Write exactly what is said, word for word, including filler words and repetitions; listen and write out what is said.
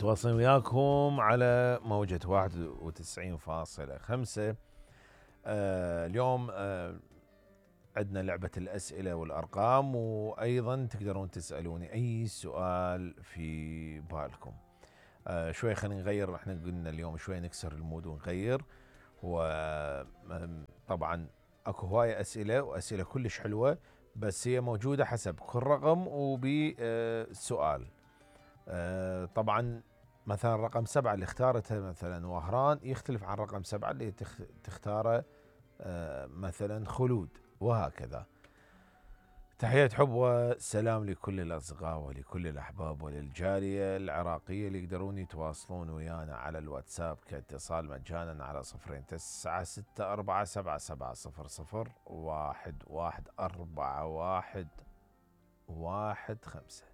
متواصلين وياكم على موجة واحد وتسعين فاصلة خمسة. آه اليوم آه عندنا لعبة الأسئلة والأرقام، وأيضا تقدرون تسألوني أي سؤال في بالكم. آه شوي خلينا نغير، احنا قلنا اليوم شوي نكسر المود ونغير. وطبعا اكو هواية أسئلة وأسئلة كلش حلوة، بس هي موجودة حسب كل رقم وبسؤال. آه طبعا مثلا رقم سبعة اللي اختارتها مثلا وهران يختلف عن رقم سبعة اللي تختاره آه مثلا خلود، وهكذا. تحية حب وسلام لكل الأصدقاء ولكل الأحباب وللجالية العراقية اللي يقدرون يتواصلون ويانا على الواتساب كاتصال مجانا على صفرين تسعة ستة أربعة سبعة سبعة صفر صفر واحد واحد أربعة واحد واحد خمسة.